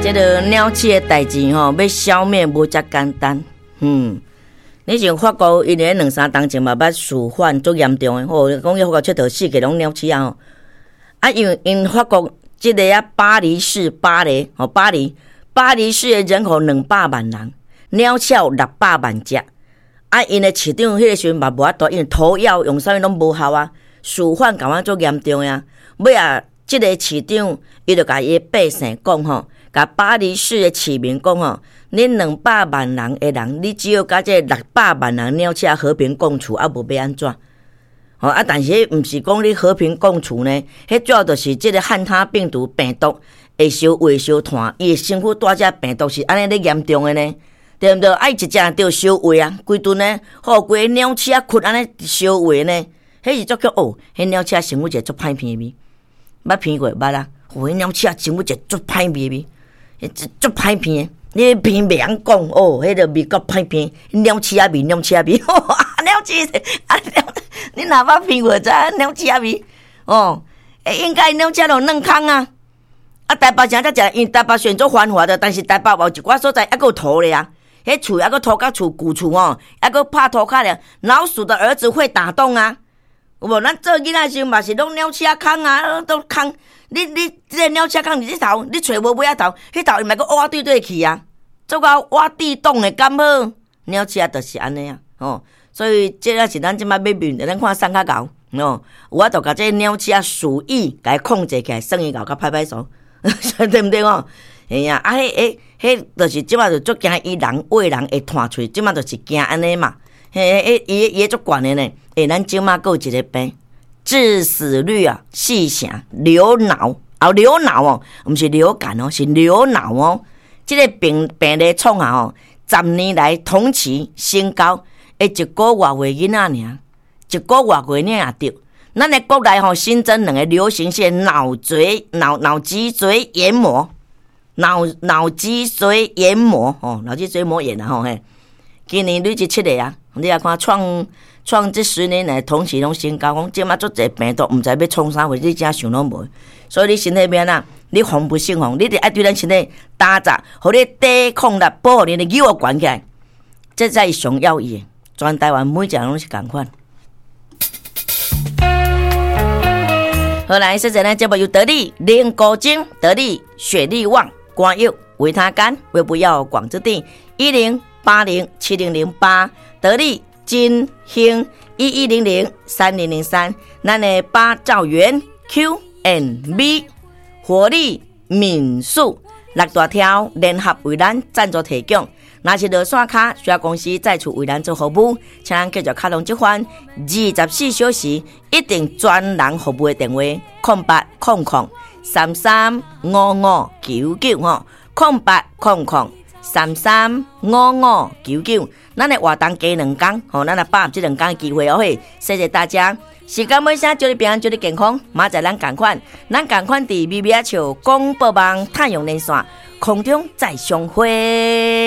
這个鳥鼠的代誌吼，欲消滅無遮簡單。你像法國，𪜶咧兩三冬前嘛捌鼠患足嚴重的，吼，講去法國𨑨迌四界攏鳥鼠仔吼。啊，因為𪜶法國這个啊巴黎市巴黎吼巴黎，巴黎市的人口200萬人，鳥鼠有600萬隻。啊，𪜶的市長彼个時陣嘛無法度，因為投藥用啥物攏無效啊，鼠患共款足嚴重的啊。尾仔，這个市長伊就共伊的百姓講吼，共巴黎市的市民講吼，恁兩百萬人的人，你只要佮這六百萬人鳥鼠和平共處，啊無欲按怎？吼啊！但是彼毋是講你和平共處呢，彼主要就是這个漢他病毒病毒會相會相傳，伊的身軀帶這病毒是按呢咧嚴重的呢，對毋對？啊，伊一隻著相餵啊，規頓呢，吼，規个鳥鼠仔群按呢相餵呢，彼是足叫哦，彼鳥鼠仔身軀一个足歹鼻味，捌鼻過捌啊？哦，彼鳥鼠仔身軀一個足歹味味，足歹鼻的，你鼻袂曉講哦，彼个味夠歹鼻，鳥鼠仔味，鳥鼠仔味，鳥鼠啊鳥，你若捌鼻過知影鳥鼠仔味哦？欸，應該鳥鼠仔就軟空啊！啊，台北城才食，因為台北雖然足繁華的，但是台北有一寡所在猶閣有塗咧啊。彼厝猶閣塗甲厝舊厝吼，猶閣拍塗跤咧。老鼠的兒子會打洞啊，有無？咱做囡仔時陣嘛是攏鳥鼠仔空啊，都空。你這个鳥鼠仔空佇這頭，你揣無尾仔頭，彼頭伊嘛閣挖對對去啊，做到挖地洞的敢好？鳥鼠仔就是按呢啊，吼。所以這个是咱這擺欲面對，咱看啥較𠢕哦，有法度共這个鳥鼠仔鼠疫共伊控制起來，算伊𠢕較拍拍手，對毋對吼？嘿啊，啊，彼、彼、彼，就是這擺就足驚伊人餵人會傳喙，這擺就是驚按呢嘛。嘿，彼、伊、伊足懸的呢。欸，咱這擺閣有一个病，致死率啊四成，流腦啊流腦哦，毋是流感哦，是流腦哦。這个病病例創下吼，10年來同期新高。欸，一個外歲囡仔爾，一個外歲囡仔也著。咱的國內吼新增兩個流行性腦髓腦腦脊髓炎膜，腦腦脊髓炎膜吼，腦脊髓膜炎啊吼嘿。今年累計七個啊，你也看創創這10年來同期攏新高，講這馬足濟病毒，毋知欲創啥貨，你真想攏無。所以你身體欲按怎？你防不勝防，你得愛對咱身體打雜，予你抵抗力，保護你的肌肉懸起來，這才是上要義的。全台灣每一個人攏是仝款。好來，現在呢節目由得力靈菇精、得力雪力旺、肝藥、維他肝、胃不藥廣之地10807008，得力金興11003003，咱的八兆元 Q N B 活力民宿六大條聯合為咱贊助提供。若是落山跤，需要公司再次為咱做服務，請咱繼續敲通這番24小時一定專人服務的電話：0800335599吼，0800335599。咱的活動加兩工，吼，咱來把握這兩工的機會哦嘿，謝謝大家。時間尾聲，祝你平安，祝你健康。明仔載咱仝款，咱仝款佇微微仔笑廣播網太陽連線空中再相會。